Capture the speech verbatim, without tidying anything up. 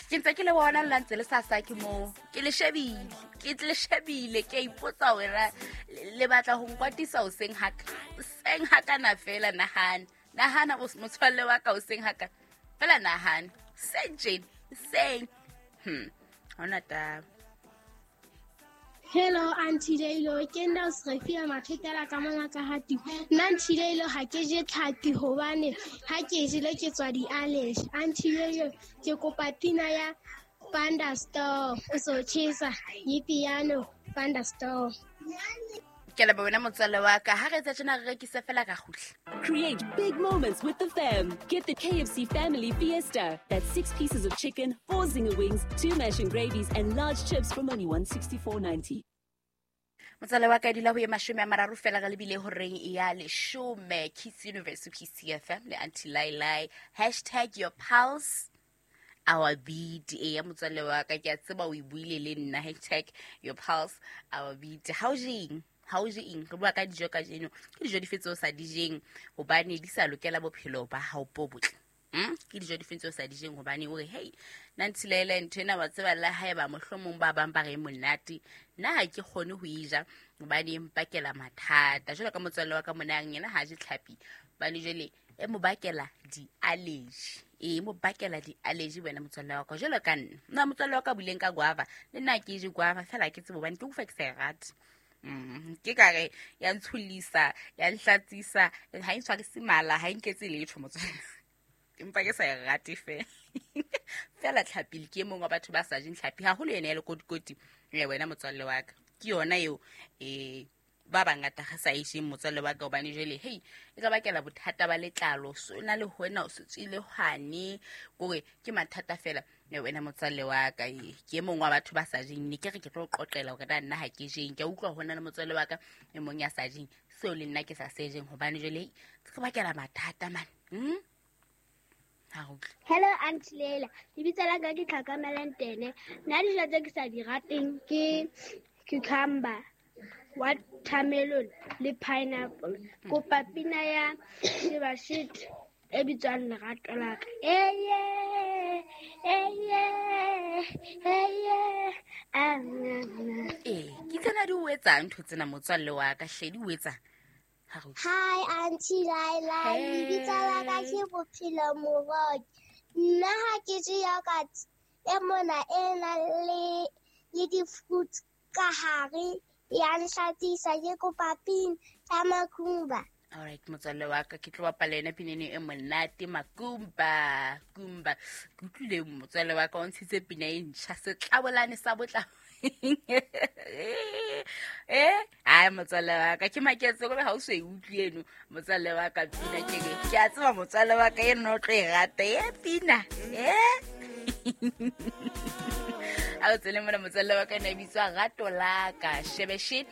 Ke ntse ke le bona le ntse le sa sa ke moo. Ke le shebile, ke le shebile, ke a ipotsa hore na le batla ho nkwatisa hoseng haka. Hoseng hakana fela nahana. Nahana motswalle wa ka hoseng haka. Fela nahana. Seng tjena, seng. Hmm. Ha hona taba. Hello Auntie Leilo, ke nna o Srefia Mafetela ka mona ka hati. Nna Auntie Leilo ha ke je tlhapi hobane ha ke jele ke tswa di-allergy. Auntie Leilo ke kopa pina ya Thunderstorm o so tjhesa piano Thunderstorm. Ke leboha wena motswalle wa ka. Ha re etsa tjena re rekise fela ka kgutla. Create big moments with the fam. Get the K F C Family Fiesta. That's six pieces of chicken, four zinger wings, two mash and gravies, and large chips from only one sixty-four ninety. Motswalle wa ka dula ho ye mashome a mararo fela re lebile horeng ya leshome. Kiss Universe, Kiss F M le Auntie Lailai. Hashtag your pulse, our beat. E ya motswalle wa ka, ke a tseba o e buile le nna. Hashtag your pulse, our beat. Ha o jeng? Ha o je eng? Re bua ka dijo kajeno. Ke dijo dife tseo o sa di jeng hobane di sa lokela bophelo ba hao bo botle? Hmm? Ke dijo dife tseo o sa di jeng hobane o re, hey, nna Auntie Laila ntho ena wa tseba le haeba mohlomong ba bang ba re monate, nna ha ke kgone ho e ja hobane e mpakela mathata. Jwalo ka motswalle wa ka mona yena ha je tlhapi hobane jwale e mo bakela di-allergy. E mo bakela di-allergy wena motswalle wa ka. Jwalo ka nna, nna motswalle wa ka buileng ka guava, le nna ke je guava fela ke tsebe hobane ke utlwa ke sa e rate. Mm, ke ka re ya ntsholisa, ya nhlatsisa, ha e ntshwarise mala, ha e nketse letho motswalle. Empa ke sa e rate fela. Fela tlhapi ke e mong wa batho ba sa jeng tlhapi, haholo yena ya lekotikoti, eh, wena motswalle wa ka. Ke yona eo, eh, ba bangata ga sa e jeng motswalle wa ka hobane jwale, hey, e ka bakela bothata ba letlalo, so na le ho wena o se tswile hwane, kore ke mathata fela. Eh, wena motswalle wa ka, eh, ke e mong wa batho ba sa jeng, ne ke re ke tlo qoqela hore na nna ha ke jeng. Ke a utlwa ho na le motswalle wa ka e mong ya sa jeng, seo le nna ke sa se jeng hobane jwale, hey, se ka bakela mathata man. Hmm? Ha re utlwe. Hello Auntie Leila, lebitso la ka ke Tlhakamelang Tene. Nna dijo tse ke sa di rateng ke cucumber, watermelon le pineapple. Kopa pina ya Shebashit e bitswang Lerato la ka. Eye, eye, eye, ah, na, na. Eh, ke tsena di o etsang ntho tsena motswalle wa ka, hle di o etsang. Ha re utlwe. Hi Auntie Laila, Hey. lebitso la ka ke Bophelo Moroki. Nna ha ke je yogurt e mona e nang le, le di-fruit ka hare, ya nhlatsisa, ke kopa pina ya Makumba. All right, motswalle wa ka, ke tlo bapala yona pina eno e monate, Makumba, Kumba. Ke utlwile motswalle wa ka o ntshitse pina e ntjha, setlabolane sa botla. Eh, ai motswalle wa ka, ke maketse hore ha o so e utlwe eno, motswalle wa ka, pina ke re, ke a tseba motswalle wa ka eno o tlo e rata, e pina, eh? Ha o tsele mona motswalle wa ka ena e bitswa Rato la ka, Shebeshit.